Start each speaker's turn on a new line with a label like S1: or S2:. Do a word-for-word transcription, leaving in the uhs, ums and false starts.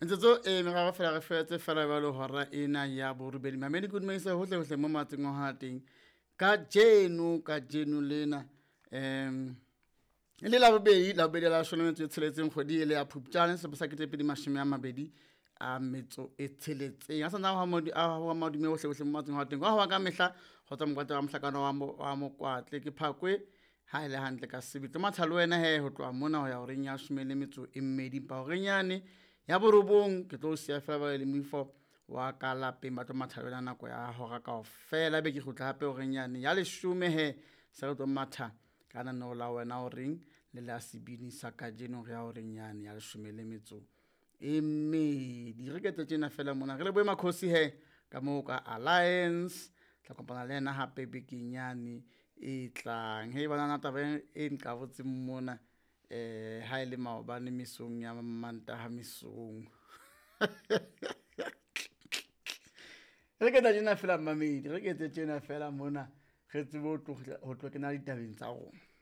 S1: Metsotso e meraro fela re fetse fela jwalo hora ena ya borobedi. Mamedi ke dumedisa hohle hohle mo matseng wa teng. Kajeno kajeno lena em e le labobedi, labobedi la leshome le metso e tsheletseng kgwedi e le ya Phupjane selemo sa kete pedi mashome a mabedi a metso e tsheletseng. A santse a wa madume hohle hohle mo matseng wa teng. Ka hoba ka mehla kgotsa mokwatla wa mohlakana wa mo wa Mokwatle ke Phakwe ha ele hantle ka sebele. Tlo matha le wena he ho tloha mona ho ya horeng ya leshome le metso e mmedi. Empa horeng yane ya borobong ke tlo siya fela ba le moifo wa ka lapeng ba tlo matha le wena nako ya hora kaofela. Ebe ke kgutla hape horeng yane ya leshome he se re tlo matha ka lenaneo la wena horeng le la sebini sa kajeno re ya horeng yane ya leshome le metso e mmedi. Re ketse tjena fela mona re lebohe Makhosi he ka moo ka Alliance. Tla kopana le yena hape bekeng yane e tlang. Hei banana taba e nqabotseng mona eh ha ele maobane mesong ya Mantaha mesong. Re ke tjena fela mmamedi, re ke tjena fela mona re tsebe ho tlo ho tlo kena ditabeng tsa rona.